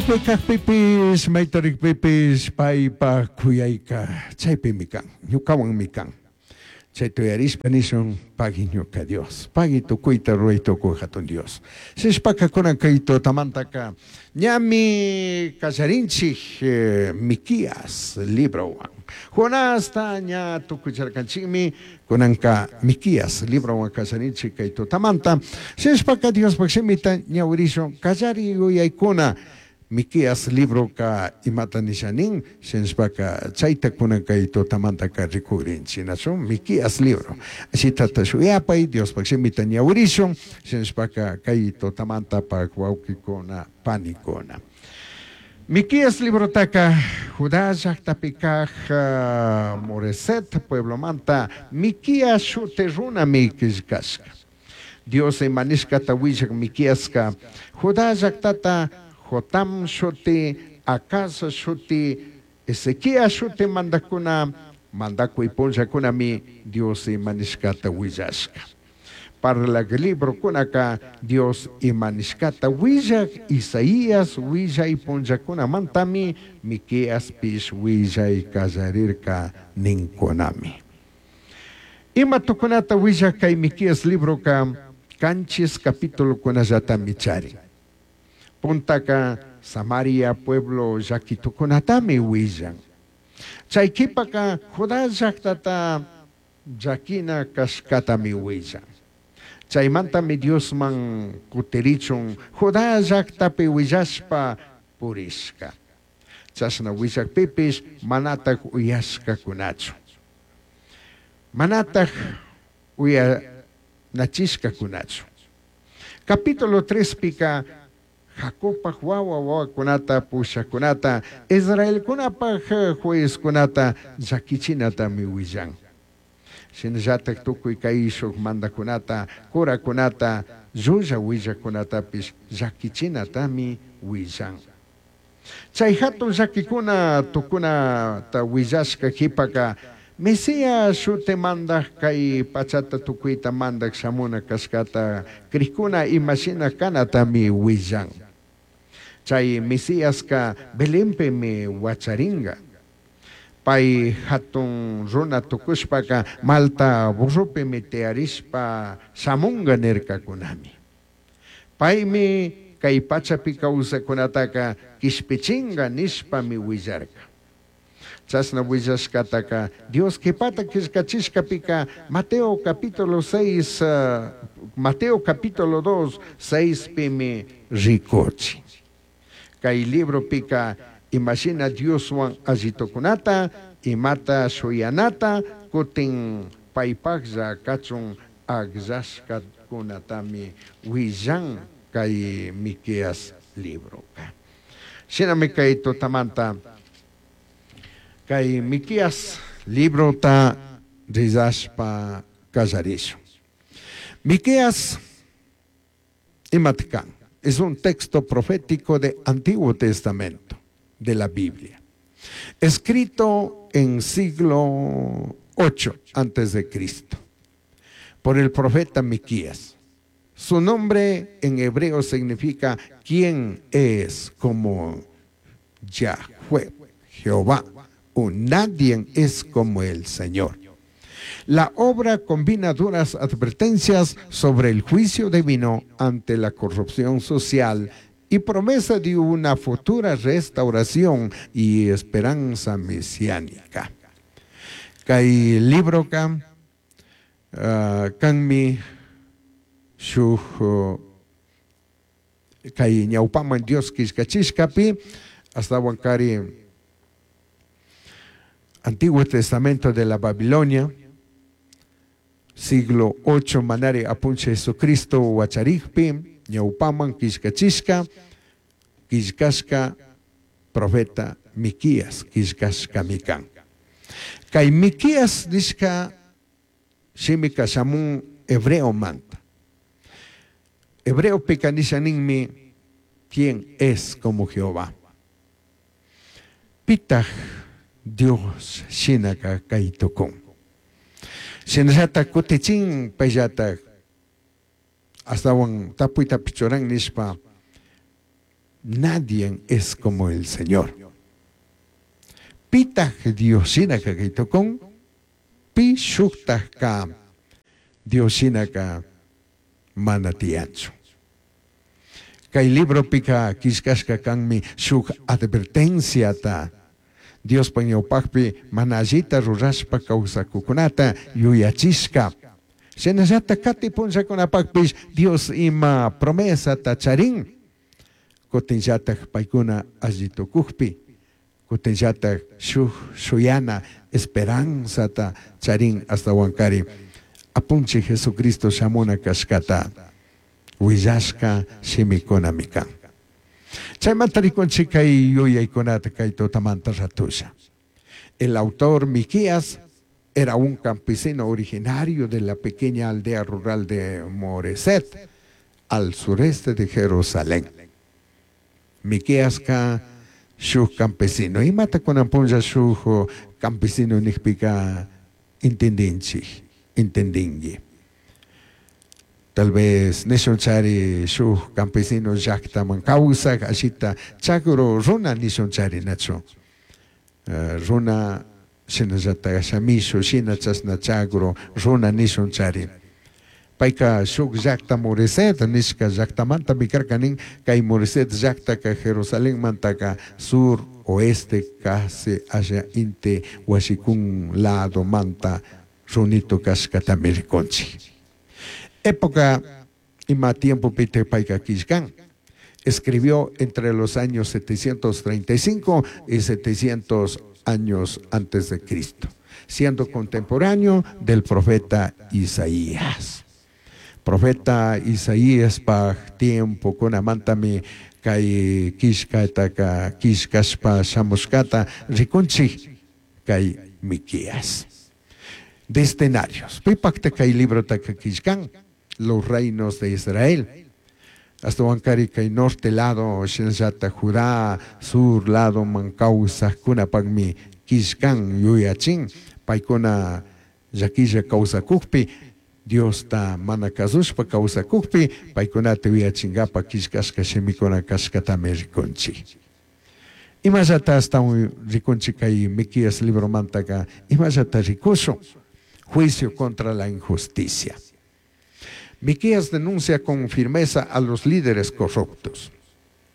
Maipi cajpipish, maita rijpipish paipaj juyaica chaipimi can, ñucahuanmi can. Chaita uyarishpa nishun, Pagui ñuca Dios, pagui tucuita rurai tucuj jatun Dios. Shishpaca cunan cai tutamantaca ñami callarinchij Miquías librohuan. Jonasta ña tucucharcanchijmi, cunanca Miquías librohuan callarinchij cai tutamanta. Shishpaca Diospaj shimita ñahuirishun callari yuyaicuna. Miqueas libroca imata nisha nin? Shinashpaca chaita cunan cai tutamantaca ricugrinchij. Nachu? Miqueas libro. Ashitata shuyapai, Diospaj shimita ñahuirishun. Shinashpaca cai tutamantapac huauquicuna, panicuna. Miqueas librotaca Judá llajtapi caj Moreset pueblomanta Miqueas shuti runami quillcashca. Dios ima nishcata huillaj Miqueasca, Judá llajtata Jotam shuti, Acaz shuti, Ezequías shuti mandajcuna mandacui punllacunami Dios ima nishcata huillashca. Parlaj librocunaca Dios ima nishcata huillaj Isaías huillai punllacunamantami Miqueaspish huillai callarirca nincunami. Ima tucunata huillaj cai Miqueas libroca canchis capitulocunallatami charin. Puntaca Samaria pueblo llaqui tucunatami huillan. Chai quipaca Judá llajtata llaquina cashcatami huillan. Chaimantami Diosman cutirichun Judá llajtapi huillashpa purishca. Chashna huillajpipish manataj uyashcacunachu. Manataj uyanachishcacunachu. Capítulo trespica Jacobpaj huahua huahuacunata pushajcunata, israelcunapaj juezcunata llaquichinatami huillan. Shinallataj tucui caishuj mandajcunata, curacunata, llulla huillajcunatapish llaquichinatami huillan. Chai jatun llaquicuna tucunata huillashca jipaca, Mesías shuti mandaj cai pachata tucuita mandaj shamuna cashcata crijcuna ima shina canatami huillan. Chai Mesiasca Belenpimi huacharinga. Pai jatun runa tucushpaca malta burropimi tiyarishpa shamunga nircacunami. Paimi cai pachapi causajcunataca quishpichinga nishpami huillarca. Chashna huillashcataca Dios quipata quillcachishcapica Mateo capítulo seis, Mateo capítulo dos, seispimi ricuchin. Cai libropica ima shina Dioshuan alli tucunata, imata shuyanata, cutin paipajlla cachun agllashcacunatami huillan cai Miqueas libroca. Shinami cai tutamanta cai Miqueas librota rizashpa callarishun. Miqueas imata can? Es un texto profético de Antiguo Testamento de la Biblia, escrito en siglo 8 antes de Cristo por el profeta Miqueas. Su nombre en hebreo significa ¿quién es como Yahweh, Jehová? O nadie es como el Señor. La obra combina duras advertencias sobre el juicio divino ante la corrupción social y promesa de una futura restauración y esperanza mesiánica. Cai libroca canmi shuj cai ñaupaman Dios quillcachishcapi ashtahuancari Antiguo Testamento de la Babilonia, siglo 8 manari apunchij Jesucristo huacharijpi ñaupaman quillcachishca quillcashca profeta Miquías quillcashcami can. Cai Miquías nishca shimica shamun hebreomanta. Hebreopica nisha ninmi ¿quién es como Jehová? Pitaj Dios shinaca cai tucun. Shinallataj cutichin paillataj ashtahuan tapuitapish churan nishpa. Nadie es como el Señor. Pitaj Dios shinaka cai tucun? Pi shujtajca Dios shinaca mana tiyanchu. Cai libropica quillcashca canmi shuj advertenciata Diospaj ñaupajpi mana allita rurashpa causacujcunata yuyachishca. Shinallataj cati punllacunapajpish Dios ima promesata charin. Cutinllataj paicuna alli tucujpi, cutinllataj shuj shuyana esperanzata charin ashtahuancari Apunchij Jesucristo shamuna cashcata huillashca shimicunami can. Chaimanta ricunchij cai yuyaicunata cai tutamanta ratusha. El autor Miqueas era un campesino originario de la pequeña aldea rural de Moreset, al sureste de Jerusalén. Miqueasca shuj campesino. Imata cunan punlla shuj campesino nijpica entendinchij, entendingui. Tal vez nishunchari shuj campesino llajtaman causaj allita chagru runa nishunchari nachu. Runa shinallataj shamishu shina chashna chagru runa nishunchari. Paica shuj llajta Moreset nishca llajtamantami carca nin, cai Moreset llajtaca Jerusalenmantaca sur oeste casi asha inti huashicun ladomanta runito cashcatami ricunchij. Época ima tiempopitaj paica quillcan? Escribió entre los años 735 y 700 años antes de Cristo, siendo contemporáneo del profeta Isaías. Profeta Isaías paj tiempocunamantami cai quillcataca quillcashpa shamushcata ricunchij cai Miqueas. Destinarios. Pipajta cai librotaca quillcan? Los reinos de Israel. Ashtahuancari cai norte lado, shinallata Judá, sur lado man causajcunapajmi quillcan yuyachin. Paicuna llaquilla causacujpi, Diosta mana cazushpa causacujpi, paicunata yuyachingapa quillcashca shimicuna cashcatami ricunchij. Imallata ashtahuan ricunchij cai Miqueas libromantaca, imallata ricushun? Juicio contra la injusticia. Miqueas denuncia con firmeza a los líderes corruptos.